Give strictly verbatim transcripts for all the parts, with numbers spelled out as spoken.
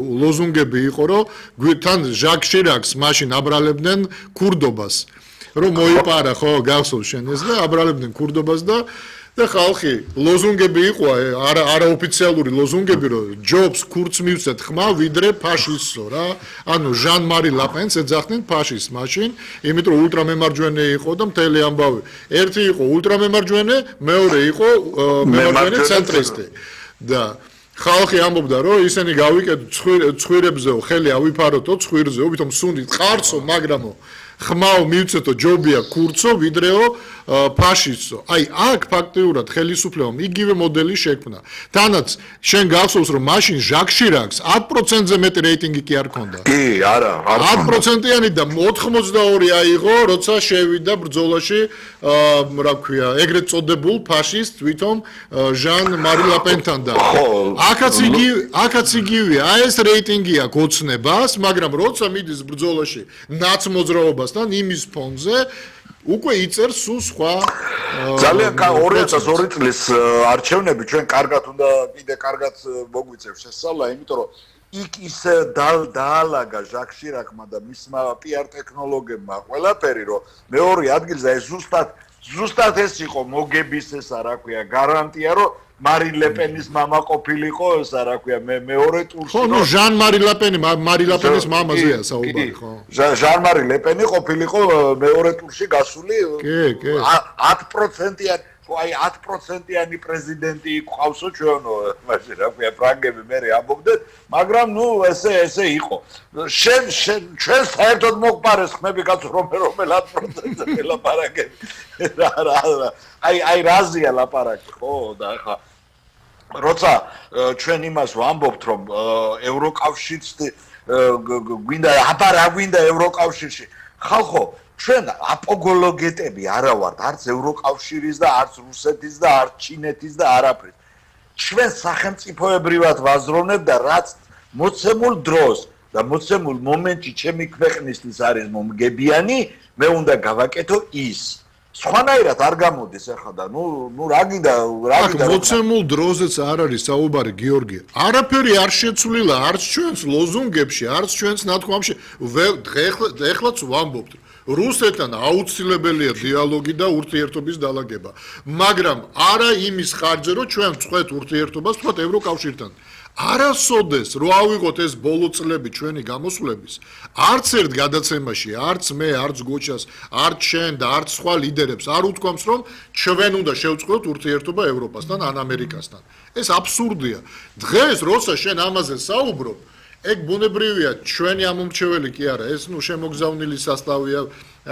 ლოზუნგები იყო, რომ თან ჟაკ შირაკს მაშინ აბრალებდნენ ქურდობას, რომ მოიპარა ხო, გახსოვს შენ ეს და აბრალებდნენ ქურდობას და და ხალხი ლოზუნგები იყო, არა არაოფიციალური ლოზუნგები, რომ ჯობს ქურდს მივცეთ ხმა, ვიდრე ფაშისტსო რა. ანუ ჟან მარი ლაპენს ეძახდნენ ფაშისტს მაშინ, იმიტომ რომ ულტრამემარჯვენე იყო და მთელი ამბავი. ერთი იყო ულტრამემარჯვენე, მეორე იყო მემარჯვენე ცენტრისტი. და ხალხი ამბობდა, რომ ისინი გავიკეთოთ ცხვირებზეო, ხელი ავიფაროთო ცხვირზეო, ვითომ სუნდით ყარცო, მაგრამო ხმაო მივცეთო ჯობია ქურცო, ვიდრეო ფაშისტო. აი, აქ ფაქტიურად ხელისუფლებამ იგივე მოდელი შექმნა. თანაც შენ გახსოვს, რომ მაშინ ჟაკ შირაკს ათ პროცენტზე მეტი რეიტინგი კი არ ქონდა. კი, არა, არ ათ პროცენტიანი და ოთხმოცდაორი აიღო, როცა შევიდა ბრძოლაში, რა ქვია, ეგრეთ წოდებულ ფაშისტ, ვითომ ჟან მარი ლაპენთან და აქაც იგი, აქაც იგივეა, აი ეს რეიტინგი აქვს ოცნებას, მაგრამ როცა მიდის ბრძოლაში ნაცმოძრაობასთან იმის ფონზე უკვე იწერს სულ სხვა ძალიან ორი ათას ორი წლის არჩევნები ჩვენ კარგად უნდა კიდე კარგად მოგვიწევს შესწავლა, იმიტომ რომ იქ ისე დაალაგა ჟაკ შირაკმა და მისმა პიარ ტექნოლოგებმა ყველაფერი, რომ მეორე ადგილზე ეს ზუსტად ზუსტად ეს იყო მოგების ესა რა ქვია გარანტია, რომ მარი ლეპენის მამა ყოფილიყო ესა რა ქვია მე მეორე ტურში ხო ნუ ჟან მარი ლეპენი მარი ლეპენის მამაზეა საუბარი ხო ჟან მარი ლეპენი ყოფილიყო მეორე ტურში გასული კი კი ათ პროცენტიანი აი ათ პროცენტიანი პრეზიდენტი ყავსო ჩვენო მაშინ რა ქვია ფრანგები მე ამბობდნენ მაგრამ ნუ ესე ესე იყო შენ შენ ჩვენ საერთოდ მოგპარეს ხმები კაცო რომ რომელ ათ პროცენტზე ლაპარაკები რა რა აი აი რაზია ლაპარაკი ხო და ხა როცა ჩვენ იმას ვამბობთ რომ ევროკავშირს გვინდა აბა რა გვინდა ევროკავშირში ხალხო ჩვენ აპოლოგეტები არა ვართ არც ევროკავშირის და არც რუსეთის და არც ჩინეთის და არაფრის ჩვენ სახელმწიფოებრივად ვაზროვნებ და რაც მოცემულ დროს და მოცემულ მომენტში ჩემი ქვეყნისთვის არის მომგებიანი მე უნდა გავაკეთო ის სხვანაირად არ გამოდის ახლა და ნუ ნუ რა გინდა რა გინდა მოცემულ დროზეც არ არის საუბარი გიორგი არაფერი არ შეცვლილა არც ჩვენს ლოზუნგებში არც ჩვენს ნათქვამში ეხლაც ვამბობთ რუსეთთან აუცილებელია დიალოგი და ურთიერთობის დალაგება მაგრამ არა იმის ხარჯზე რომ ჩვენ ვწყვეთ ურთიერთობას თქვათ ევროკავშირთან არასოდეს რო ავიღოთ ეს ბოლო წლები ჩვენი გამოსვლების არც ერთ გადაცემაში არც მე არც გოჩას არც შენ და არც სხვა ლიდერებს არ უთქვამს რომ ჩვენ უნდა შევწყვეტოთ ურთიერთობა ევროპასთან ან ამერიკასთან ეს აბსურდია დღეს როცა შენ ამაზე საუბრობ ეგ ბუნებრივია ჩვენი ამომრჩეველი კი არა ეს ნუ შემოგზავნილი სასტავია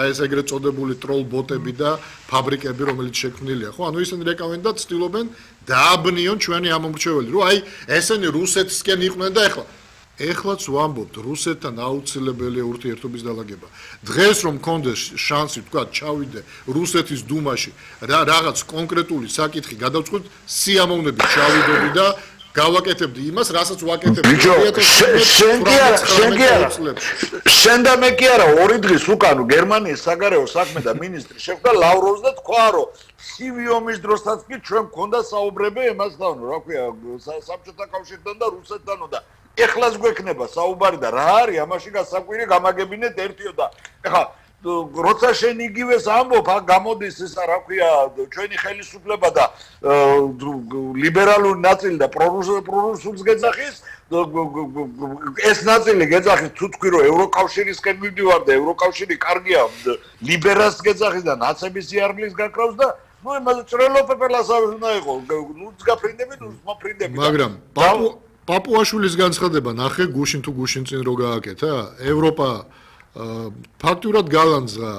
ეს ეგრეთ წოდებული ტროლ ბოტები და ფაბრიკები რომელიც შექმნილია ხო ანუ ისინი რეკავენ და ცდილობენ დააბნიონ ჩვენი ამომრჩეველი რომ აი ესენი რუსეთისკენ იყვნენ და ეხლა ეხლაც ვამბობთ რუსეთთან აუცილებელია ურთიერთობის დალაგება დღეს რომ მქონდეს შანსი თქვა ჩავიდე რუსეთის დუმაში რა რაღაც კონკრეტული საკითხი გადავწყვეტ სიამოვნებით ჩავიდოდი და გავაკეთებდი იმას, რასაც ვაკეთებდი. შენ კი არა, შენ კი არა. შენ და მე კი არა, ორი დღის უკან გერმანიის საგარეო საქმე და მინისტრი შეხვდა ლავროვს და თქვა, რომ ცივი ომის დროსაც კი ჩვენ მქონდა საუბრები ემასთან, რა ქვია, საბჭოთა კავშირთან და რუსეთთან და ეხლაც გვექნება საუბარი და რა არის, ამაში გასაკვირი გამაგებინეთ ერთიო და ეხლა როცა შენ იგივეს ამბობ, აქ გამოდის ისა რა ქვია, ჩვენი ხელისუფლება და ლიბერალური ნაწილი და პრორუსულს გეძახის, ეს ნაწილი გეძახის თუ თქვი რომ ევროკავშირისკენ მივდივარ და ევროკავშირი კარგია, ლიბერალს გეძახის და ნაცების სიარგლის გაკრავს და ნუ იმაზე ჭრელოფეფელასავე უნდა იყო, ნუ გაფრინდები, ნუ მოფრინდები. მაგრამ პაპუაშვილის განცხადება ნახე გუშინ თუ გუშინ წინ რო გააკეთა, ევროპა ფაქტურად გალანძღა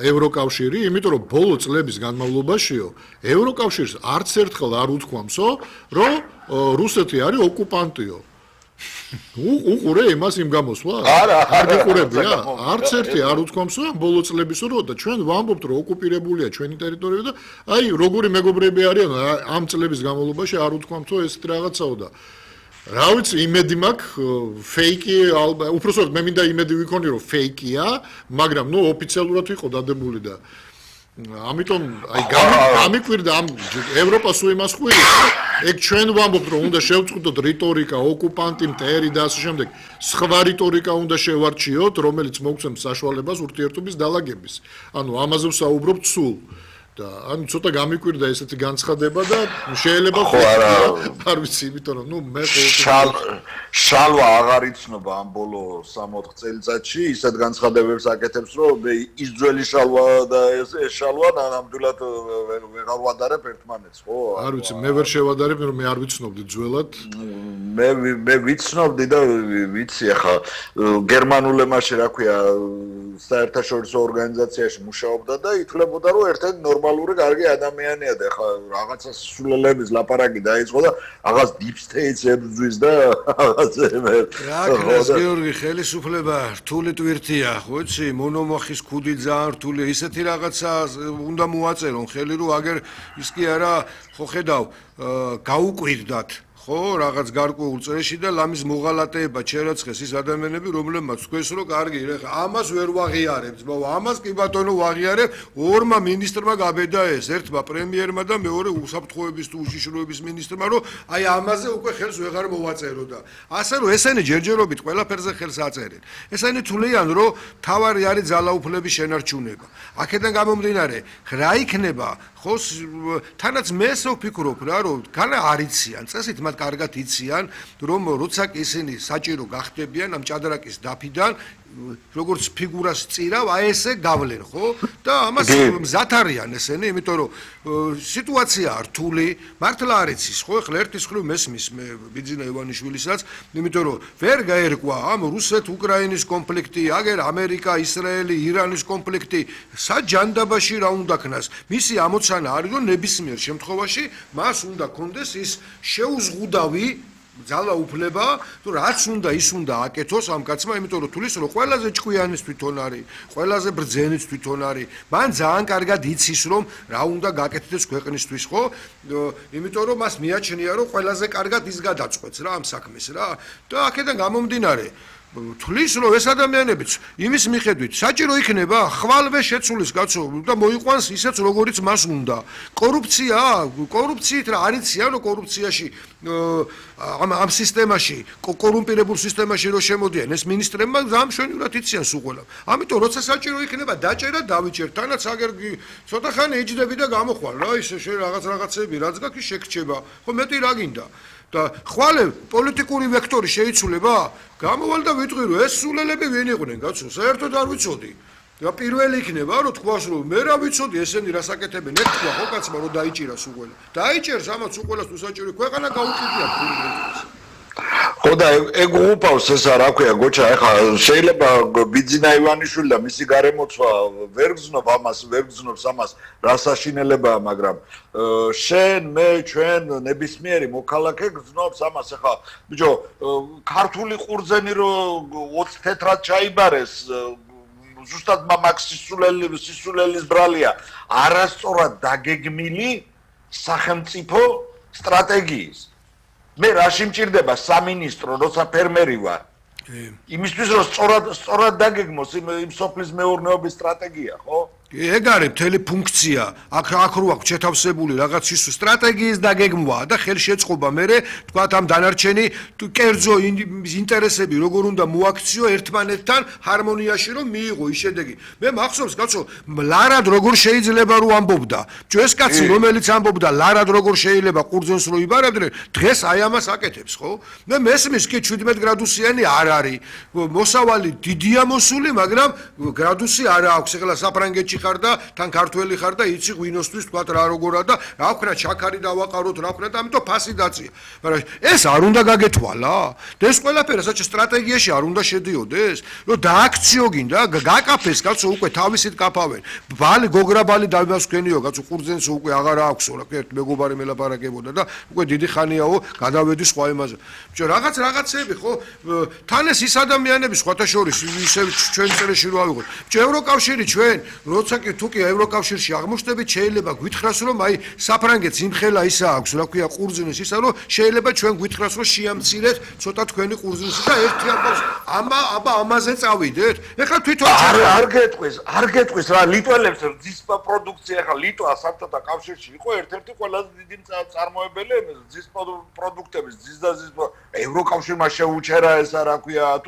ევროკავშირი, იმიტომ რომ ბოლო წლების განმავლობაშიო ევროკავშირს არც ერთხელ არ უთქვამსო, რომ რუსეთი არის ოკუპანტიო. უყურე იმას იმ გამოსვლას? არა, არ გიყურებია? არც ერთი არ უთქვამსო ამ ბოლო წლებისო, რომ და ჩვენ ვამბობთ, რომ ოკუპირებულია ჩვენი ტერიტორია და აი როგორი მეგობრები არიან ამ წლების განმავლობაში არ უთქვამსო ესეთ რაღაცაო და რა ვიცი, იმედი მაქვს, ფეიკი, უпроსოდ მე მინდა იმედი ვიქონი, რომ ფეიკია, მაგრამ ნუ ოფიციალურად იყო დადებული და ამიტომ აი გამიკვირდა ამ ევროპას ու იმას ხვირი ეგ ჩვენ ვამბობთ რომ უნდა შევწყვიტოთ რიტორიკა ოკუპანტი მტერი და ასე შემდეგ სხვა რიტორიკა უნდა შევარჩიოთ რომელიც მოგცემს საშუალებას ურთიერთობის დალაგების ანუ ამაზე ვსაუბრობთ სულ და ანუ ცოტა გამიკვირდა ესეთი განცხადება და შეიძლება ხო არა არ ვიცი იმიტომ რომ ნუ მე შალვა აღარ იცნობა ამ ბოლო სამოთხ წელიწადში ისეთ განცხადებებს აკეთებს რომ ის ძველი შალვა და ეს შალვა ნამდვილად ვეღარ ვადარებ ერთმანეთს ხო არ ვიცი მე ვერ შევადარებ რომ მე არ ვიცნობდი ძველად მე მე ვიცნობდი და ვიცი ახლა გერმანულ ემაში რა ქვია საერთაშორისო ორგანიზაციაში მუშაობდა და ითვლებოდა რომ ერთ-ერთი ნორმალური კარგი ადამიანია და ახლა რაღაცა სულელების ლაპარაკი დაიწყო და რაღაც deep state ებრძვის და რა ქნას გიორგი ხელისუფლება რთული ტვირთია ხო იცი მონომახის ქუდი ძალიან რთულია ისეთი რაღაცა უნდა მოაწერონ ხელი რომ აგერ ის კი არა ხო ხედავ გაუკვირდათ ხო რაღაც გარკვეულ წრეში და ლამის მოღალატეება ჩერაცხეს ის ადამიანები რომლებმაც თქვენს რომ კარგი რა ამას ვერ ვაღიარებთ ბავ ამას კი ბატონო ვაღიარებ ორმა მინისტრმა გაბედა ეს ერთმა პრემიერმა და მეორე უსაფრთხოების თუ უშიშროების მინისტრმა რომ აი ამაზე უკვე ხელს ვეღარ მოვაწერო და ასე რომ ესენი ჯერჯერობით ყველაფერზე ხელს აწერენ ესენი თვლიან რომ თავარი არის ძალაუფლების შენარჩუნება აქედან გამომდინარე რა იქნება ხო თანაც მე ესე ვფიქრობ რა რომ განა არიციან წესით მათ კარგად იციან რომ როცა კი ისინი საჭირო გახდებიან ამ ჭადრაკის დაფიდან როგორც ფიგურას წირავ აი ესე გავლენ ხო და ამას მზად არიან ესენი იმიტომ რომ სიტუაცია რთული მართლა არ იცის ხო ეხლა ერთის ხრივ მესმის მე ბიძინა ივანიშვილისაც იმიტომ რომ ვერ გაერკვა ამ რუსეთ-უკრაინის კონფლიქტი აგერ ამერიკა ისრაელი ირანის კონფლიქტი საჯანდაბაში რა უნდა ქნას მისი ამოცანა არის რომ ნებისმიერ შემთხვევაში მას უნდა კონდეს ის შეუზღუდავი ძალაუფლება თუ რაც უნდა ის უნდა აკეთოს ამ კაცმა იმიტომ რომ თulis რომ ყველაზე ჭკვიანის თვითონ არის ყველაზე ბრძენის თვითონ არის მან ძალიან კარგად იცის რომ რა უნდა გაკეთდეს ქვეყნისთვის ხო იმიტომ რომ მას მიაჩნია რომ ყველაზე კარგად ის გადაწყვეტს რა ამ საქმეს რა და აქედან გამომდინარე თulis რომ ეს ადამიანებიც იმის მიხედვით საჭირო იქნება ხვალვე შეცulis კაცო და მოიყვანს ისეც როგორიც მას უნდა კორუფცია კორუფციით რა არიციან რომ კორუფციაში ამ ამ სისტემაში კორუმპირებულ სისტემაში რო შემოდიან ეს მინისტრებმა ზამშვენივრად იციან სულ ამიტომ როცა საჭირო იქნება დაჭერა დავიჭერ თანაც აგერ ცოტა ხანი ეჯდები და გამოხვალ რა ისე რაღაც რაღაცები რაც გაქვს შეგრჩება ხო მეტი რა გინდა და ხვალე პოლიტიკური ვექტორი შეიცვლება გამოვალ და ვიტყვი რომ ეს სულელები ვინ იყვნენ კაცო საერთოდ არ ვიცოდი და პირველი იქნება რომ თქვას რომ მე რა ვიცოდი ესენი რას აკეთებენ ერთ თქვა ხო კაცმა რომ დაიჭირა სულ დაიჭერს ამაც უყოლას თუ საჭირო ქვეყანა გაუჭირდა ფულს ხო და ეგ უყავს ესა რა ქვია გოჩა ეხა შეიძლება ბიძინა ივანიშვილი და მისი გარემოცვა ვერ გზნობ ამას ვერ გზნობს ამას რა საშინელებაა მაგრამ შენ მე ჩვენ ნებისმიერი მოქალაქე გზნობს ამას ეხა ბიჭო ქართული ყურძენი რომ ოცი თეთრად ჩაიბარეს ზუსტად მამაკს სისულელი სისულელის ბრალია არასწორად დაგეგმილი სახელმწიფო სტრატეგიის მე რაში მჭირდება სამინისტრო როცა ფერმერი ვარ იმისთვის რომ სწორად სწორად დაგეგმოს იმ სოფლის მეურნეობის სტრატეგია ხო ეგ არის მთელი ფუნქცია აქ აქ რო აქვს შეთავსებული რაღაც ის სტრატეგიის დაგეგმვა და ხელშეწყობა მე თქვათ ამ დანარჩენი კერძო ინტერესები როგორ უნდა მოაქციო ერთმანეთთან ჰარმონიაში რომ მიიღო ის შედეგი მე მახსოვს კაცო ლარად როგორ შეიძლება რომ ამბობდა ეს კაცი რომელიც ამბობდა ლარად როგორ შეიძლება ყურძენს რო იბარებდნენ დღეს აი ამას აკეთებს ხო მე მესმის კი შვიდმეტ გრადუსიანი არ არის მოსავალი დიდია მოსული მაგრამ გრადუსი არ აქვს ეხლა საფრანგეთში ხარ და თან ქართველი ხარ და იცი ღვინოსთვის თქვა რა როგორა და რა ვქნა ჩაქარი დავაყაროთ რა ვქნა და ამიტომ ფასი დაწია მაგრამ ეს არ უნდა გაგეთვალა და ეს ყველაფერი საჭირო სტრატეგიაში არ უნდა შედიოდეს რომ დააქციო გინდა გაკაფეს კაცო უკვე თავისით კაფავენ ბალი გოგრაბალი დავასქენიო კაცო ყურძენს უკვე აღარ აქვს რა ერთ მეგობარი მელაპარაკებოდა და უკვე დიდი ხანიაო გადავედი სხვა იმაზე ბიჭო რაღაც რაღაცები ხო თან ეს ის ადამიანები სხვათა შორის ისე ჩვენ წრეში რო ავიღოთ ბიჭო ევროკავშირი ჩვენ როცა როცა კი თუ კი ევროკავშირში აღმოჩნდებით, შეიძლება გვითხრას, რომ აი საფრანგეთს იმხელა ისა აქვს, რა ქვია, ყურძნის ისა, რომ შეიძლება ჩვენ გვითხრას, რომ შეამცირეთ ცოტა თქვენი ყურძნისი და ერთი აბა ამა აბა ამაზე წავიდეთ. ეხლა თვითონ არ არ გეტყვის, არ გეტყვის რა ლიტველებს რძის პროდუქცია ახლა ლიტვა საბჭოთა კავშირში იყო ერთ-ერთი ყველაზე დიდი წარმოებელი რძის პროდუქტების რძის და რძის ევროკავშირმა შეუჩერა ესა რა ქვია